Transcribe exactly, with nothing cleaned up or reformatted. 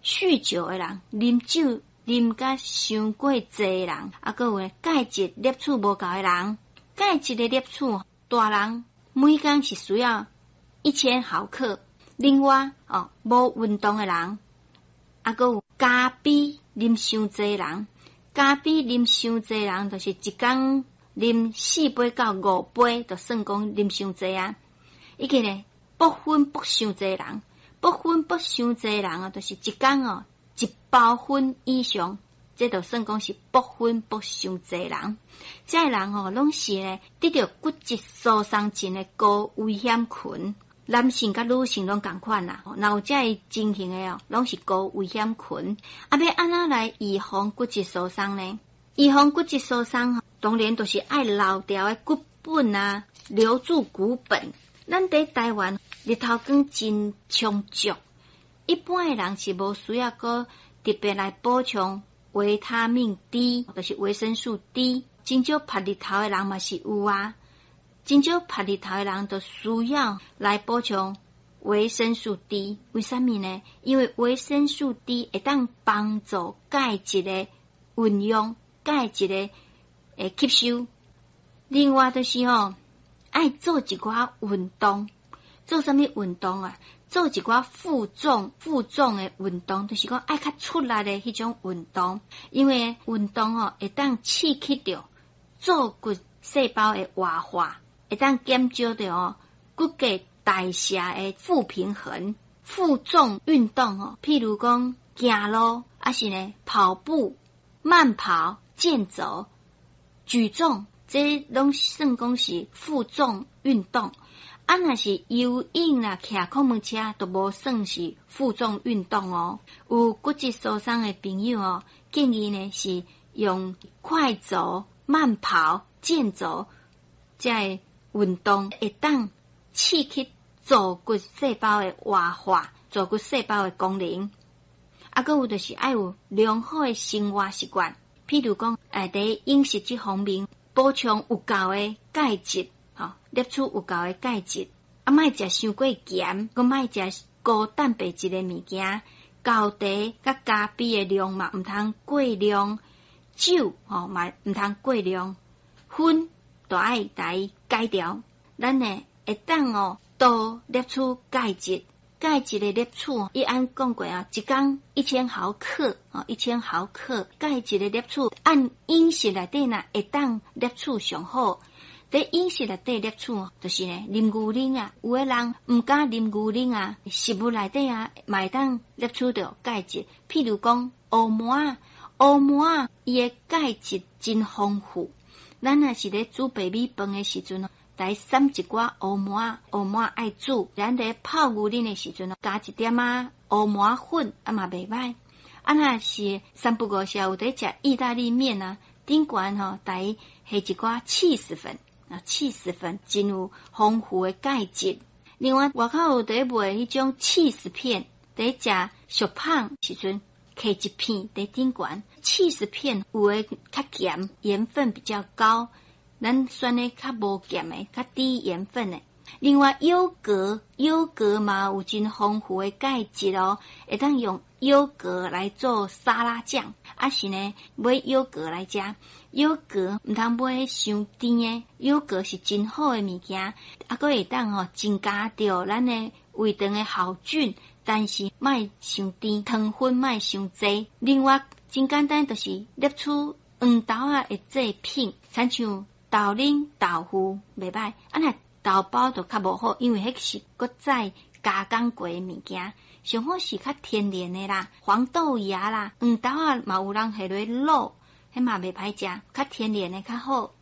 酗酒的人，啉酒啉甲傷過濟的人，啊，閣有鈣質攝取無夠的人，鈣質的攝取，大人每工是需要一千毫克。另外，哦，無運動的人，啊，閣有咖啡啉傷濟人，咖啡啉傷濟人，就是一工啉四杯到五杯，就算講啉傷濟啊。以及呢，薄粉薄傷濟人，薄粉薄傷濟人啊，就是一工哦一包粉以上，這就算講是薄粉薄傷濟人。這个人哦，攏是呢得著骨質疏鬆症的高危險群，男性佮女性攏仝款啦。若有這个情形的哦，攏是高危險群。啊，欲按怎來預防骨質疏鬆呢？預防骨質疏鬆，當然就是愛留牢的骨本啊，留住骨本。咱佇台灣日頭光真充足，一般的人是無需要閣特別來補充維他命 D，就是維生素 D。真少曬日頭的人嘛是有啊，真少曬日頭的人就需要來補充維生素 D。為啥物呢？因為維生素 D 會當幫助鈣質的運用，鈣質的會吸收。另外就是吼，愛做一寡運動，做啥物運動啊？做一寡負重、負重的運動，就是講愛較出力的彼種運動。因為運動吼會當刺激著造骨細胞的活化，會當減少著哦骨骼代謝的負平衡。負重運動吼，譬如講行路，抑是呢跑步、慢跑、健走、舉重，這攏算講是負重運動。啊，若是游泳啦、騎礦門車，都無算是負重運動哦。有骨質疏鬆的朋友哦，建議呢是用快走、慢跑、健走這个運動，會當刺激造骨細胞的活化、造骨細胞的功能。啊，閣有就是愛有良好的生活習慣，譬如講，欸，佇飲食這方面補充有夠的鈣質。吼，攝取有夠的鈣質，啊，莫食傷過鹹，閣莫食高蛋白質的物件，厚茶佮咖啡的量嘛毋通過量，酒吼嘛毋通過量，薰都愛共伊戒掉。咱呢會當哦多攝取鈣質，鈣質的攝取，伊按講過啊，一工一千毫克，哦，一千毫克鈣質的攝取，按飲食內底若會當攝取上好。佇飲食內底攝取，就是呢，啉牛奶啊，有的人毋敢啉牛奶啊，食物內底啊，嘛會當攝取著鈣質。譬如講烏糜仔，烏糜仔伊的鈣質真豐富。咱若是咧煮白米飯的時陣，來攕一寡烏糜仔，烏糜仔愛煮。咱咧泡牛奶的時陣，加一點仔烏糜仔粉，啊嘛袂䆀。啊，若是三不五時有佇食意大利麵啊，頂懸吼，來下一寡起司粉。啊，起司粉真有豐富的鈣質。另外，外口有佇賣彼種起司片，佇食燒麭時陣，揢一片佇頂懸。起司片有的較鹹，鹽分比較高，咱選的較無鹹的，較低鹽分的。另外，優格，優格嘛有真豐富的鈣質哦，會當用優格來做沙拉醬，抑是呢買優格來食。優格毋通買傷甜的，優格是真好的物件，啊，閣會當吼增加著咱的胃腸的好菌，但是莫傷甜，糖分莫傷濟。另外，真簡單，就是攝取黃豆仔的製品，親像豆奶、豆腐袂䆀，啊若豆包就較無好，因為彼是閣再加工過的物件。上好是較天然的啦，黃豆芽啦，黃豆仔嘛有人下落滷，彼嘛袂歹食，較天然的較好。